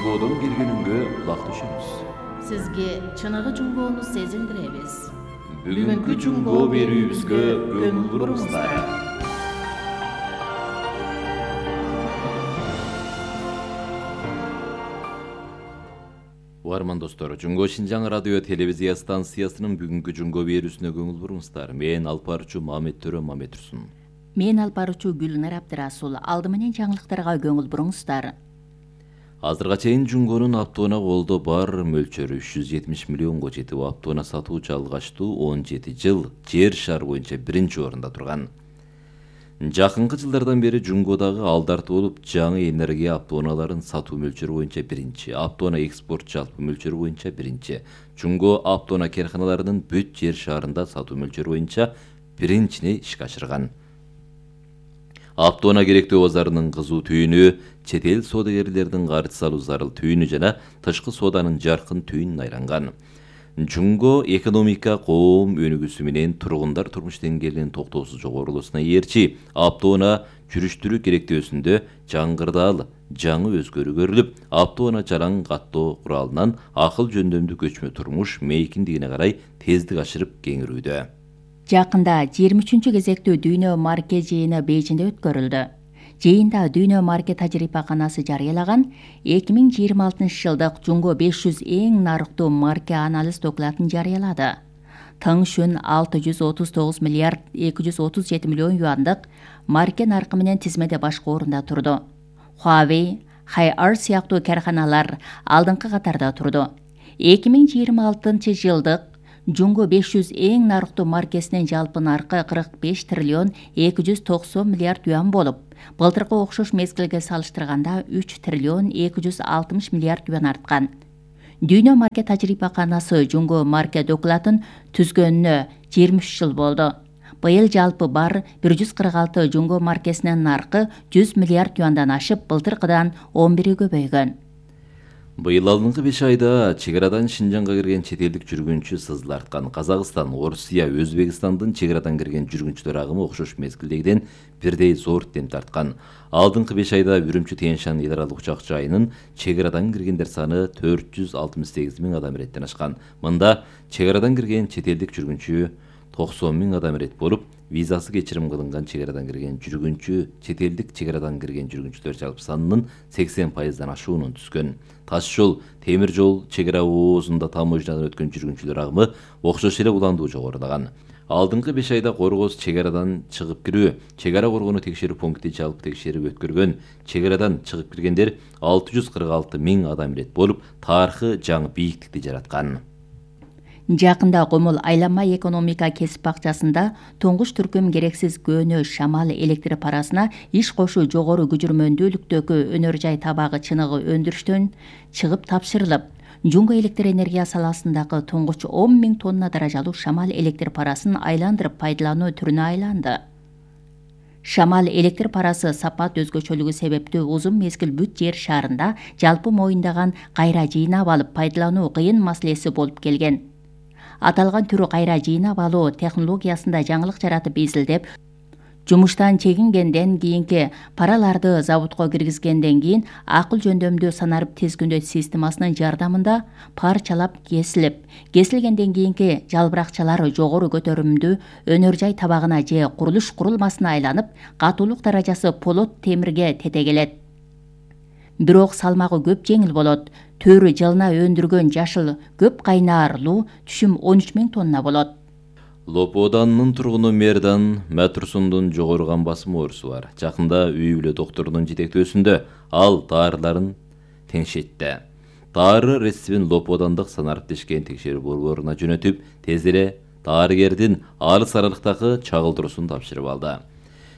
Жунгодон келгениңге кулак түшөбүз. Сизге чыныгы жунгоону сезиндиребиз. Бүгүнкү жунгоо берүүбүзгө көңүл буруңуздар. Угарман достор, Жунгоо Шинжаң радио телевизия станциясынын бүгүнкү жунгоо берүүсүнө көңүл буруңуздар. Мен алпарчу Мамет Төрө Мамет-Турсун. Мен алпарчу Гүлнар Абдырасул. Алды менен жаңылыктарга көңүл буруңуздар. Азырга чейин жунгонун оптоуна колдо бар мөлчөрү 370 миллионго жетип, оптоуна сатуучу алгаштуу 17 жыл жер шары боюнча биринчи орунда турган. Жакынкы жылдардан бери жунгодагы алдарты болуп, жаңы энергия оптоуналарын сатуу мөлчөрү боюнча биринчи, оптоуна экспорт жалпы мөлчөрү боюнча биринчи, жунгоо оптоуна керканаларынын бүт жер шаарында сатуу мөлчөрү боюнча биринчини ишке ашырган. Оптоуна керектүү базарынын кызуу түйүнү, чет эл соодагерлердин карыз салуу зарыл түйүнү жана тышкы сооданын жаркын түйүнүн айланган. Жунго экономика, коом өнүгүүсү менен тургундар турмуш деңгээлинин токтоосуз жогорулуусуна ээрчи, оптоуна жүрүштүрүү керектөөсүндө жаңгырдаал жаңы өзгөрүү көрүлүп, оптоуна жалаң каттоо куралынан акыл жөндөмдүү көчмө турмуш мейкиндигине карай тездик ашырып кеңирүүдө. Жакында 23-чү кезектүү Дүйнө марке жыйыны Бейжиңде өткөрүлдү. Жыйында Дүйнө марке тажрыйбаканасы жарыялаган 2026 жылдык Жунго 500 эң нарыктуу марке анализ докладын жарыялады. Тыңшүн 639 миллиард 237 миллион юандык марке наркы менен тизмеде башкы орунда турду. Huawei, Hi-Art сыяктуу карханалар алдыңкы катарда турду. 2026 жылдык Жунго 500 эң нарыктуу маркесинин жалпы наркы 45 триллион 290 миллиард юан болуп, былтыркы окшош мезгилге салыштырганда 3 триллион 260 миллиард юан арткан. Дүйнө марке тажрыйбаканасы Жунго марке докладын түзгөнүнө 23 жыл болду. Быйыл жалпы бар 146 Жунго маркесинин наркы 100 миллиард юандан ашып, былтыркыдан 11 көбөйгөн. Быйыл алдыңкы 5 айда чек арадан Шинжаңга кирген чет элдик жүргүнчү сызыл арткан. Казакстан, Орусия, Өзбекстандын чек арадан кирген жүргүнчүлөр агымы окшош мезгилдегиден бирдей зор темп тарткан. Алдыңкы 5 айда Үрүмчү Тянь-Шань эл аралык учак жайынын чек арадан киргендер саны 468 миң адам иреттен ашкан. Мында чек арадан кирген чет элдик жүргүнчү 90 миң адам ирет болуп, визасы кечирим кылынган чек арадан кирген жүргүнчү чет элдик чек арадан кирген жүргүнчүлөр жалпы санынын 80%дан ашуунун түзгөн. Таш жол, темир жол, чек ара оозунда таможнядан өткөн жүргүнчүлөр агымы окшош эле уландуу жогорулаган. Алдыңкы 5 айда Коргоз чек арадан чыгып кирүү, чек ара коргонуу текшерүү пункти жалпы текшерип өткөргөн. Чек арадан чыгып киргендер 646 миң адам ирет болуп, тарыхы жаңы бийиктикти жараткан. Жакында Комул айланма экономика кесип бакчасында туңгуч түркүм керексиз көөнө шамал электр парасына иш кошуу жогору күжүрмөндүүлүктөгү өнөр жай табагы чыныгы өндүрүштөн чыгып тапшырылып, Жунго электр энергия саласындагы туңгуч 10 миң тонна даражалуу шамал электр парасын айландырып пайдалануу түрүнө айланды. Шамал электр парасы сапат өзгөчөлүгү себептүү узун мезгил бүт жер шаарында жалпы моюндаган кайра жыйнап алып пайдалануу кыйын маселеси болуп келген. Аталган түрү кайра жыйнап алуу технологиясында жаңылык жаратып изилдеп, жумуштан чегингенден кийинки параларды заводко киргизгенден кийин акыл жөндөмдүү санарып тизгүндөө системасынын жардамында парчалап кесилгенден кийинки жалбыракчалар жогору көтөрүмдүү өнөр жай табагына же курулуш курулмасына айланып, катуулук даражасы полот темирге тетегелет. Бирок салмагы көп жеңил болот. Төрү жылына өндүргөн жашыл көп кайнаарлуу түшүм 13 миң тонна болот. Лоподанын тургуну Мердан Матурсундун жогорган басым оорусу бар. Жакында үй бүлө докторунун жетектөөсүндө ал даарыларын теңшетти. Дары рецептин Лоподандык санарып тешкен текшерүү борборуна жөнөтүп, тез эле дарыгердин алыс аралыктагы чагылдыруусун тапшырып алды.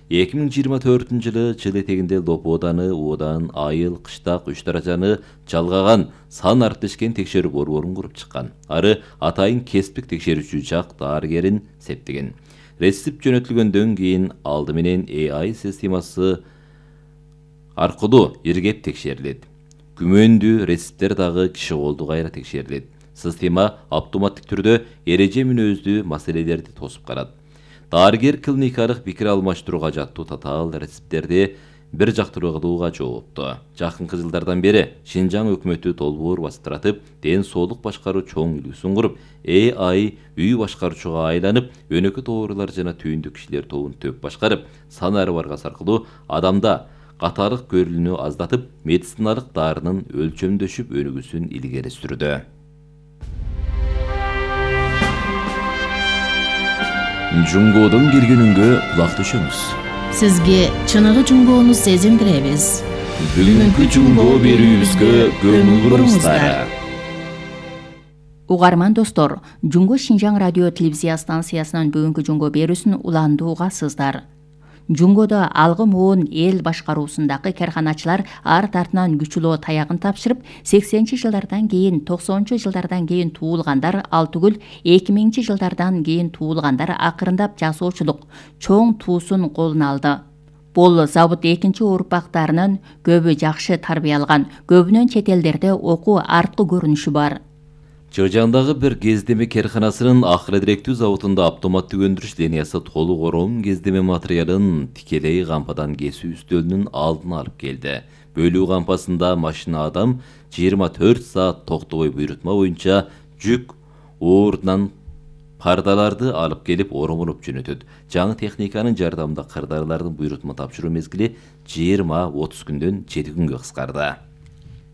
2024 жылы жыл этегинде Лоподаны, Одан, Айыл, Кыштак 3 даражаны жалгаган санарып тешкен текшерүү борборун куруп чыккан. Ары атайын кесиптик текшерүүчү жак дарыгерин септеген. Рецепт жөнөтүлгөндөн кийин алды менен AI системасы аркылуу иргеп текшерилет. Күмөндүү рецепттер дагы киши колду кайра текшерилет. Система автоматтык түрдө эреже мүнөздүү маселелерди тосуп карат. Дарыгер клиникалык пикир алмаштырууга жаттуу татаал рецепттерди бир жактыруу кылууга жоопту. Жакынкы жылдардан бери Шинжаң өкмөтү долбоор бастыратып, ден соолук башкаруу чоң үлгүсүн куруп, AI үй башкаруучуга айланып, өнөкөт оорулар жана түйүндү кишилер тобун төп башкарып, санары баргас аркылуу адамда катаалык көрүлүүнү аздатып, медициналык дарынын өлчөмдөшүп өнүгүүсүн илгери сүрдү. Жунгодон келгенүнгө кулак түшүңүз. Сизге чыныгы жунгоону сезиндиребиз. Бүгүнкү жунгоо берүүбүзгө көңүл буруңуздар. Угарман достор, Жунго Шинжаң радио телевизия станциясынан бүгүнкү жунгоо берүүсүн уланды угасыздар. Жунгодо алгы моон эл башкаруусундагы карханачылар арт артынан күчүлөө таягын тапшырып, 80-жылдардан кийин, 90-жылдардан кийин туулгандар ал түгүл 2000-жылдардан кийин туулгандар акырындап жасоочулук чоң туусун колуна алды. Бул завод экинчи урпактарынын көбү жакшы тарбиялган, көбүнөн чет элдерде окуу арткы көрүнүшү бар. Чыгжаңдагы бир кездеме карханасынын акыры-директүү заводунда автоматтык өндүрүш линиясы толук ороон кездеме материалын тикелей кампадан кесүү үстөлүнүн алдына алып келди. Бөлүү кампасында машина адам 24 саат токтобой буйрутма боюнча жүк оорунан пардаларды алып келип оромуруп жөнөтөт. Жаңы техниканын жардамында кырдаарлардын буйрутма тапшыруу мезгили 20-30 күндөн 7 күнгө кыскарды.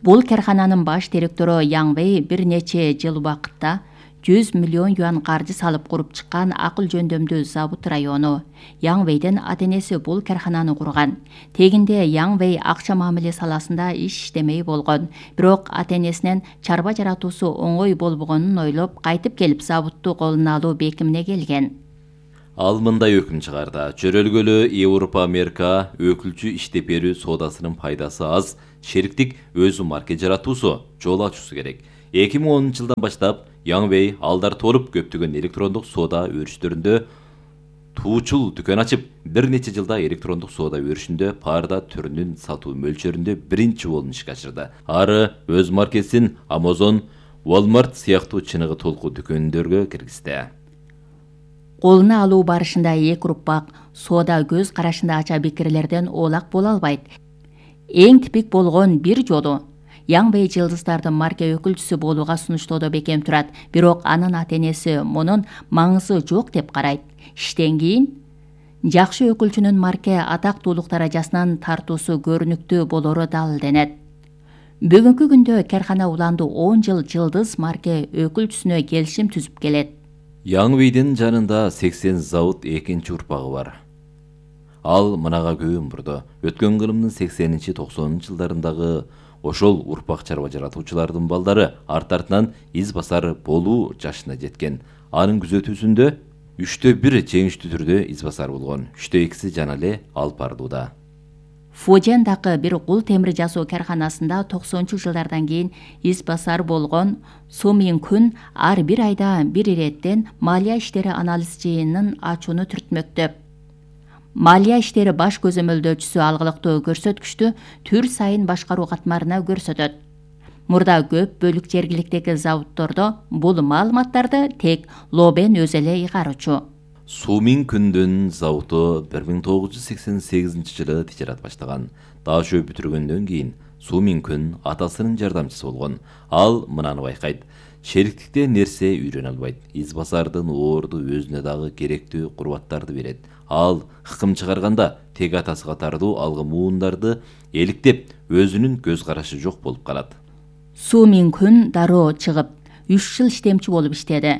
Бул кархананын баш директору Яң Вэй бир нече жыл убакытта 100 миллион юан каржы салып куруп чыккан акыл жөндөмдүү завод району. Яң Вэйден ата-энеси бул кархананы курган. Тегинде Яң Вэй акча мамиле саласында иштемей болгон. Бирок ата-энесинен чарба жаратуусу оңой болбогонун ойлоп, кайтып келип заводду колуна алуу бекимине келген. Ал мындай өкүм чыгарды. Чөрөлгөлө Европа Америка өкүлчү иштеп берүү соодасынын пайдасы аз, шериктик өзү марке жаратуусу, жол ачуусу керек. 2010-жылдан баштап Яң Вэй алдар толуп көптөгөн электрондук соода өрүштөрүндө туучул дүкөн ачып, бир нече жылда электрондук соода өрүшүндө парда түрүнүн сатуу мөлчөрүндө биринчи болуп ишке ашырды. Ары өз маркесин Amazon, Walmart сыяктуу чыныгы толку дүкөндөргө киргизди. Колуна алуу барышында эки урпак соода көз карашында ача бекерлерден оолак боло албайт. Эң типик болгон бир жолу Яң Вэй жылдыздардын марке өкүлчүсү болууга сунуштоодо бекем турат, бирок анын ата-энеси мунун маңызы жок деп карайт. Иштен кийин жакшы өкүлчүнүн марке атактуулук даражасынан тартуусу көрүнүктүү болору далилденет. Бүгүнкү күндө кархана уланды 10 жыл жылдыз марке өкүлчүсүнө келишим түзүп келет. Яң Вэйдин жанында 80 завод экинчи урпагы бар. Ал мынага көңүл бурду. Өткөн кылымдын 80-90-жылдарындагы ошол урпак чарба жаратуучулардын балдары арт-артынан из басар болуу жашына жеткен. Анын күзөтүүсүндө 1/3 жеңиштүү түрдө из басар болгон, 2/2 жана эле алып бардууда. Фожендагы бир кул темир жасоо карханасында 90-жылдардан кийин из басар болгон Су Мин Күн ар бир айда бир иреттен малия иштери анализ жыйынын ачууну түртмөктөп. Малия иштери баш көзөмөлдөөчүсү алгылыктуу көрсөткүчтү түр сайын башкаруу катмарына көрсөтөт. Мурда көп бөлүк жергиликтеги заводдордо бул маалыматтарды тек Лобен өзү эле ыйгарчу. Су Мин Күндүн заводу 1988-жылы тижерат баштаган. Даашөө бүтүргөндөн кийин Су Мин Күн атасынын жардамчысы болгон. Ал мынаны байкайт. Шериктикте нерсе үйрөнө албайт. Из басардын оорду өзүнө дагы керектүү курбаттарды берет. Ал хыкым чыгарганда тег атасы катардуу алгы муундарды эликтеп, өзүнүн көз карашы жок болуп калат. Су Мин Күн дароо чыгып, 3 жыл иштемчи болуп иштеди.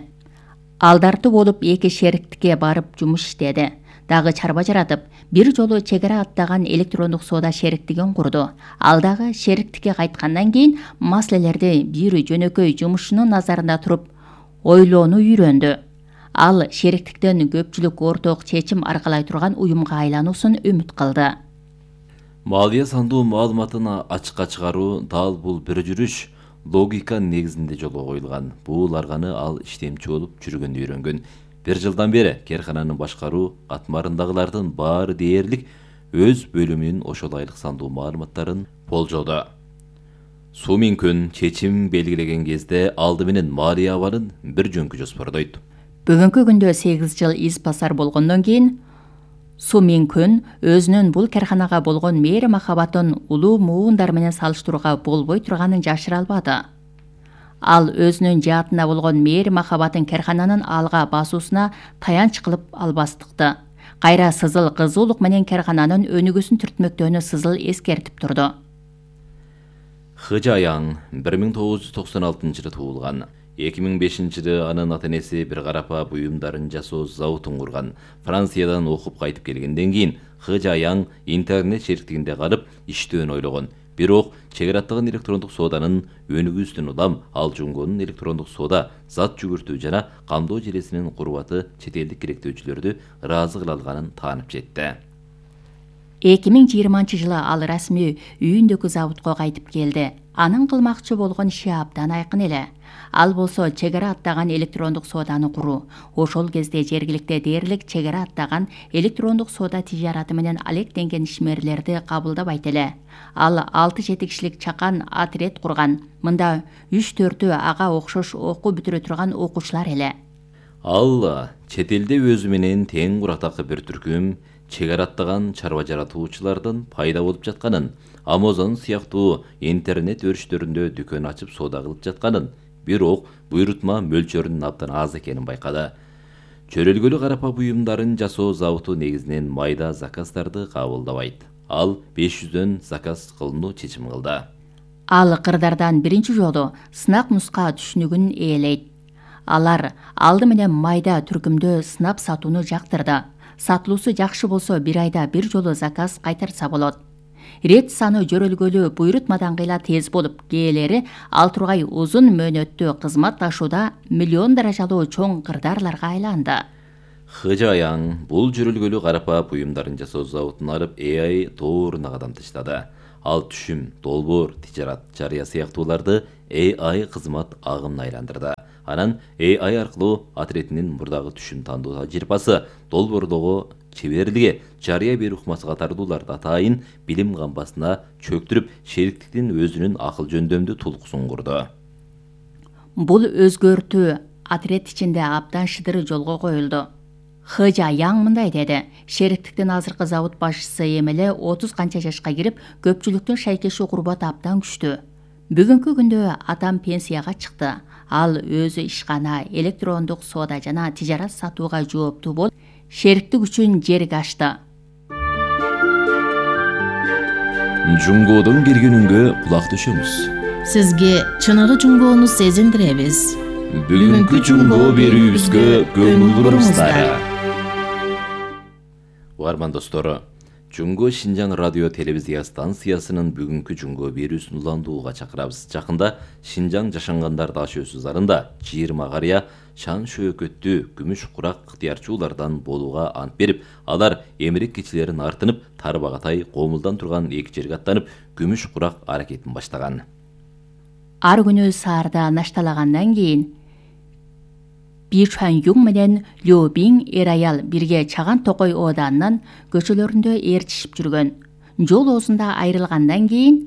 Алдартуу болуп эки шериктикке барып жумуш иштеди. Дагы чарба жаратып, бир жолу чек ара аттаган электрондук соода шериктигин курду. Ал дагы шериктикке кайткандан кийин маселелерди бир жөнөкөй жумушчунун назарында туруп ойлоону үйрөндү. Ал шериктиктен көпчүлүк орток чечим аркалай турган уюмга айлануусун үмүт кылды. Малия сандуу маалыматын ачыкка чыгаруу дал бул бир жүрүш логика негизинде жолго коюлган. Бул арганы ал иштемчи болуп жүргөндө үйрөнгөн. Бир жылдан бери кархананын башкаруу катмарындагылардын баары дээрлик өз бөлүмүнүн ошол айлык сандуу маалыматтарын болжоду. Су Мин Күн чечим белгилеген кезде алды менен Малия абалын бир жөнкү жоспордойт. Бүгүнкү күндө 8 жыл из басар болгондон кийин Су Минкүн өзүнүн бул карханага болгон мээри махабатын улуу муундар менен салыштырууга болбой турганын жашыра албады. Ал өзүнүн жаатына болгон мээри махабатын кархананын алга басуусуна таянч кылып албастыкты. Кайра сызыл кызуулук менен кархананын өнүгүүсүн түртмөктөөнү сызыл эскертип турду. Хыжаяң 1996-жылы туулган. 2005-жылы анын ата-энеси бир карапа буюмдарын жасоо заводун курган. Франциядан окуп кайтып келгенден кийин Хыжаяң интернет шериктигинде калып иштөөнү ойлогон. Бирок чегара аттаган электрондук сооданын өнүгүүсүнөн улам ал Жунгонун электрондук соода, зат жүгүртүү жана камдоо желесинин курбаты чет элдик керектөөчүлөрдү ыраазы кыла алганын таанып жетти. 2020-жылы ал расмий үйүндөгү заводко кайтып келди. Анын кылмакчы болгон иши абдан айкын эле. Ал болсо чегара аттаган электрондук сооданы куруу. Ошол кезде жергиликте дээрлик чегара аттаган электрондук соода тижараты менен алектенген ишмерлерди кабылдабайт эле. Ал 6-7 кишилик чакан отряд курган. Мында 3-4 ага окшош окуу бүтүрө турган окуучулар эле. Ал чет элде өзү менен тең курактагы бир түркүм чегара аттаган чарба жаратуучулардын пайда болуп жатканын, Amazon сыяктуу интернет өрүштөрүндө дүкөн ачып соода кылып жатканын, бирок буйрутма мөлчөрүнүн абдан аз экенин байкады. Чөрөлгөлү карапа буюмдарын жасоо заводу негизинен майда заказдарды кабылдабайт. Ал 500дөн заказ кылууну чечим кылды. Ал кырдардан биринчи жолу сынак нуска түшүнүгүн ээлейт. Алар алды менен майда түркүмдө сынап сатууну жактырды. Сатылуусу жакшы болсо бир айда бир жолу заказ кайтарса болот. Рет саны жөрөлгөлү буйрутмадан кыйла тез болуп, кээлери ал тургай узун мөөнөттүү кызматташууда миллион даражалуу чоң кырдарларга айланды. Хыжаяң бул жөрөлгөлү карапа буюмдарын жасоо заводун алып AI тооруна кадам таштады. Ал түшүм, долбоор, тижарат, жарыя сыяктууларды AI кызмат агымына айландырды. Анан AI аркылуу отрядынын мурдагы түшүм тандоо тажрыйбасы, долбоордогу чеберлиги, жарыя берүү ыкмасы катардууларды атайын билим камбасына чөктүрүп, шериктиктин өзүнүн акыл жөндөмдүү тулкусун курду. Бул өзгөртүү отряд ичинде абдан шыдыр жолго коюлду. Хыжаяң мындай деди: шериктиктин азыркы завод башчысы эмеле 30 канча жашка кирип, көпчүлүктүн шайкеши курбаты абдан күчтүү. Бүгүнкү күндө атам пенсияга чыкты. Ал өзү ишкана, электрондук соода жана тижарат сатууга жооптуу болуп, шериктик үчүн жерге ачты. Жунгодон келгенүнгө кулак төшөмүз. Сизге чыныгы жунгоону сезиндиребиз. Бүгүнкү жунгоо берүүбүзгө көңүл буруңуздар. Угарман достору, Жунго Шинжаң радио телевизия станциясынын бүгүнкү жунгоо берүүсүн уландууга чакырабыз. Жакында Шинжаң жашангандар дашөөсү зарында 20 карыя шан шөөкөттүү күмүш курак ыктыярчуулардан болууга ант берип, алар эмирек кечилерин артынып, тарбагатай Комулдан турган эки жерге аттанып, күмүш курак аракетин баштаган. Ар күнү саарда нашталагандан кийин Бичуан Юң менен Лю Бин эр аял бирге Чаган Токой ооданынын көчөлөрүндө ээрчишип жүргөн. Жол оозунда айрылгандан кийин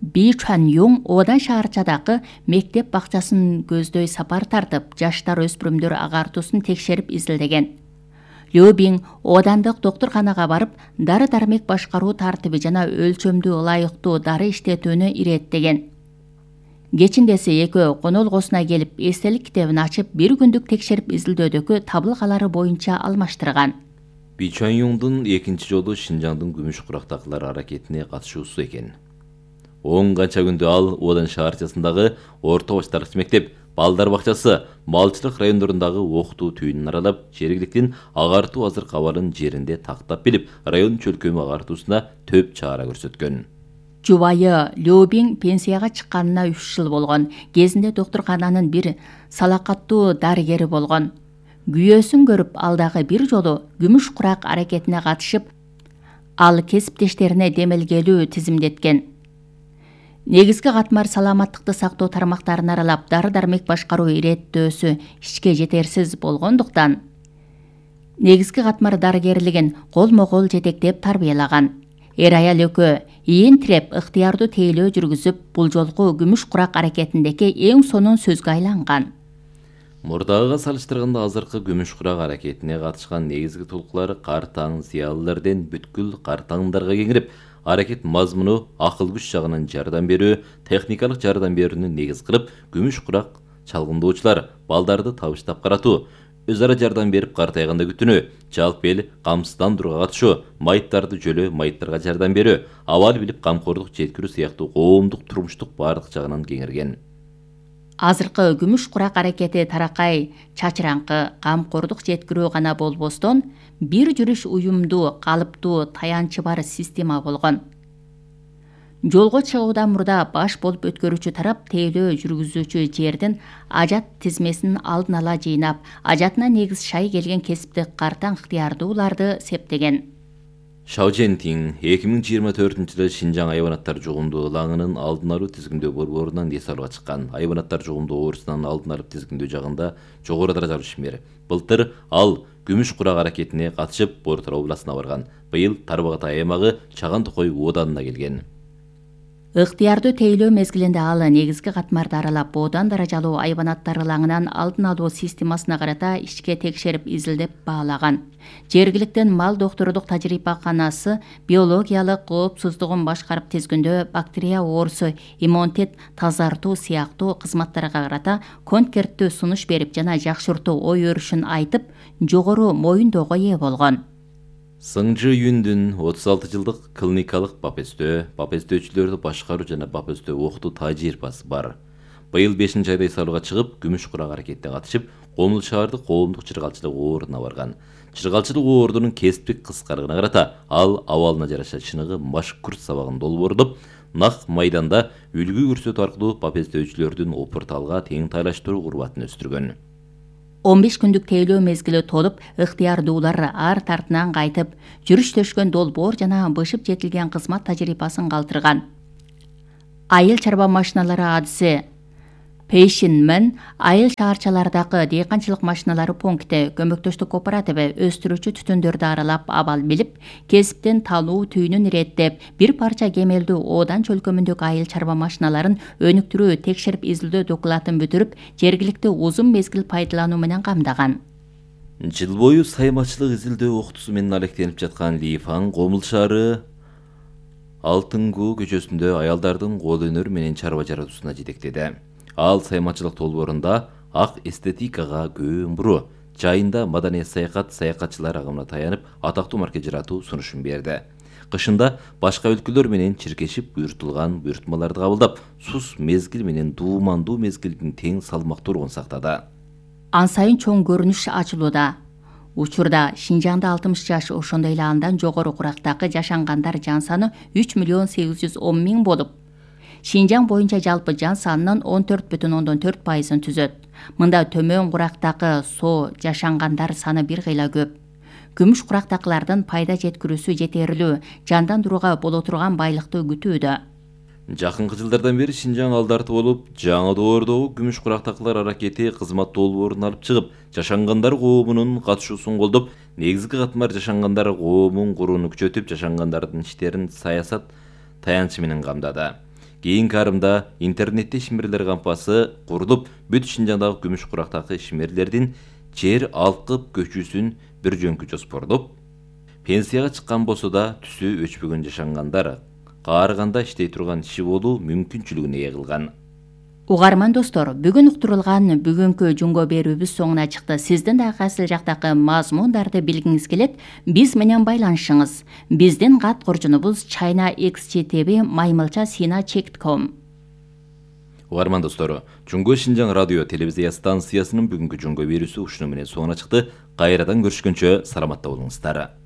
Бичуан Юң оодан шаарчадагы мектеп бакчасын көздөй сапар тартып, жаштар өспүрүмдөр агартуусун текшерип изилдеген. Лю Бин оодандык доктурканага барып, дары-дармек башкаруу тартиби жана өлчөмдүү ылайыктуу дары иштетүүнү иреттеген. Кечиндеси экөө конолгосуна келип, эстелик китебин ачып, бир күндүк текшерип изилдөөдөгү табылгалары боюнча алмаштырган. Бичуан Юңдун экинчи жолу Шинжаңдын күмүш курактагылар аракетине катышуусу экен. 10 канча күндө ал оодан шаарчасындагы орто баштаркыч мектеп, балдар бакчасы, малчылык райондорундагы окутуу түйүнүн аралап, жергиликтин агартуу азыркы абалын жеринде тактап билип, район чөлкөмү агартуусуна төп чара көрсөткөн. Жубайы Лю Бин пенсияга чыкканына 3 жыл болгон. Кезинде доктуркананын бир салакаттуу дарыгери болгон. Күйөөсүн көрүп, алдагы бир жолу күмүш курак аракетине катышып, ал кесиптештерине демелгелүү тизимдеткен. Негизги катмар саламаттыкты сактоо тармактарын аралап, дары-дармек башкаруу иреттөөсү ичке жетерсиз болгондуктан, негизги катмар дарыгерлигин колмо-кол жетектеп тарбиялаган. Эр аял экөө ийин тиреп, ыктыярдуу тейлөө жүргүзүп, бул жолку күмүш курак аракетиндеги эң сонун сөзгө айланган. Мурдагыга салыштырганда азыркы күмүш курак аракетине катышкан негизги толкулары кар таң зыялылардан бүткүл кар таңдарга кеңирип, аракет мазмуну акыл күч жагынан жардам берүү, техникалык жардам берүүнү негиз кылып, күмүш курак чалгындоочулар балдарды табыштап каратуу, өз ара жардам берип картайганда күтүнүү, жалпы эл камсыздандырууга катышуу, майыптарды жөлөө майыптарга жардам берүү, абал билип камкордук жеткирүү сыяктуу коомдук турмуштук баардык жагынан кеңирген. Азыркы күмүш курак аракети таракай, чачыраңкы, камкордук жеткирүү гана болбостон, бир жүрүш уюмдуу, калыптуу, таянчы бар система болгон. Жолго чыгуудан мурда баш болуп өткөрүүчү тарап тейлөө жүргүзүүчү жердин ажат тизмесин алдын ала жыйнап, ажатына негиз шай келген кесиптик картаң ыктыярдууларды септеген. Шао Жентин 2024-жылы Шинжаң айбанаттар жугумдуу ылаңынын алдын алуу тизгиндөө борборунан эс алууга чыккан. Айбанаттар жугумдуу оорусунан алдын алып тизгиндөө жагында жогору даражалуу ишмер. Былтыр ал күмүш курак аракетине катышып, Бор-Тара областына барган. Быйыл Тарбагатай аймагы Чаган Токой ооданына келген. Ыктыярдуу тейлөө мезгилинде ал негизги катмарды аралап, боодан даражалуу айбанаттар ылаңынан алдын алуу системасына карата ичке текшерип изилдеп баалаган. Жергиликтен мал доктордук тажрыйбаканасы биологиялык коопсуздугун башкарып тизгиндөө бактерия оорусу, иммунитет тазартуу сыяктуу кызматтарга карата конкерттүү сунуш берип жана жакшыртуу ой өрүшүн айтып, жогору моюндоого ээ болгон. Сыңжы Юндүн 36 жылдык клиникалык бапестөөчүлөрдү башкаруу жана бапестөө окутуу тажрыйбасы бар. Быйыл 5-айда эс алууга чыгып, күмүш курак аракетине катышып, Комул шаардык коомдук чыргалчылык оордуна барган. Чыргалчылык оордунун кесиптик кыскалыгына карата ал абалына жараша чыныгы машкурт сабагын долбоордоп, нак майданда үлгү көрсөтүү аркылуу бапестөөчүлөрдүн опурталга тең тайлаштыруу курбатын өстүргөн. 15 күндүк тейлөө мезгили толуп, ыктыярдуулар арт артынан кайтып, жүрүш төшкөн долбоор жана бышып жетилген кызмат тажрыйбасын калтырган. Айыл чарба машиналары адысы Пейшинмен айыл шаарчалардагы дыйканчылык машиналары пункти көмөктөштүк кооперативи өстүрүүчү түтүндөрдү аралап, абал билип, кесиптен талуу түйүнүн иреттеп, бир парча кемелдүү оодан чөлкөмүндөгү айыл чарба машиналарын өнүктүрүү, текшерип изилдөө документин бүтүрүп, жергиликтүү узун мезгил пайдалануу менен камдаган. Жыл бою саймачылык изилдөө окутуусу менен алектенип жаткан Лифан Комул шаары Алтынгуу көчөсүндө аялдардын кол өнөрү менен чарба жаратуусуна жетектеди. Ал саймачылык долбоорунда ак эстетикага көөн буруу, жайында маданий саякатчылар агымына таянып, атактуу марке жаратуу сунушун берди. Кышында башка өлкөлөр менен чиркешип буйртулган буйртмаларды кабылдап, сус мезгил менен дуумандуу мезгилдин тең салмактуулугун сактады. Ан сайын чоң көрүнүш ачылууда. Учурда Шинжаңда 60 жаш, ошондой эле андан жогору курактагы жашангандар жан саны 3.810.000 болуп, Шинжаң боюнча жалпы жан санынын 14,4%-ын түзөт. Мында төмөн курактагы жашангандар саны бир кыйла көп. Күмүш курактакылардын пайда жеткирүүсү жетерлүү, жандандырууга боло турган байлыкты күтүүдө. Жакынкы жылдардан бери Шинжаң алдарты болуп, жаңы доордогу күмүш курактакылар аракети кызмат долбоорун алып чыгып, жашангандар коомунун катышуусун колдоп, негизги катмар жашангандар коомун курууну күчөтүп, жашангандардын иштерин саясат таянчы менен камдады. Кийинки арымда интернетте ишмерлер кампасы курулуп, бүт Шинжаңдагы күмүш курактагы ишмерлердин жер алкып көчүүсүн бир жөнкү жоспордоп, пенсияга чыккан болсо да түсү өчпөгөн жашангандар каарыганда иштей турган иши болуу мүмкүнчүлүгүн ээ кылган. Угарман достор, бүгүн уктурулган бүгүнкү жунго берүүбүз соңуна чыкты. Сиздин да кайсыл жактагы мазмундарды билгиңиз келет, биз менен байланышыңыз. Биздин кат коржунубуз china.xgtv@maymilcha.sina.com. Угарман достор, Жунго Шинжаң радио телевизия станциясынын бүгүнкү жунго берүүсү ушуну менен соңуна чыкты. Кайрадан көрүшкөнчө саламатта болуңуздар.